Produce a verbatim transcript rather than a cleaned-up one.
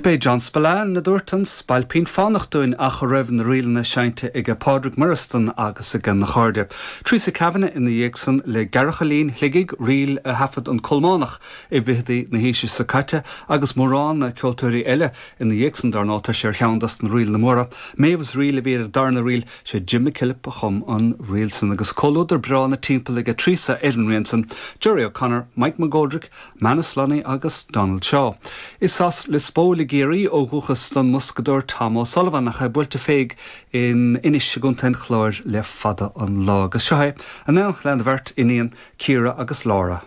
B'é John Spillane a dúirt an Spailpín Fánach dúinn ach a raibh na ríleanna seinnte ag Pádraig Moireasdan agus ag na cairde. Teresa Kavanagh ina dhiaidh san le Gearrchailín Shligigh ríl a thaifead an Colmánach i bhfichidí na haoise seo caite agus mórán ceoltóirí eile ina dhiaidh san dar ndóigh tá sé ar cheann des na ríleanna móra. Mavis Reel a bhí ar darna ríl sé Jim McKillop a chum an ríl san agus comhluadar breá ina timpeall ag Teresa ar an rian san, Jerry O'Connor, Mike McGoldrick, Manus Lunny agus Donald Shaw. Is as Lios Póil i gCiarraí ó dhúchas don mboscadóir Tom O'Sullivan ach é buailte féig in Inis i gContae an Chláir le fada an lá agus seo é an éineacht lena bheirt iníon Ciara agus Laura.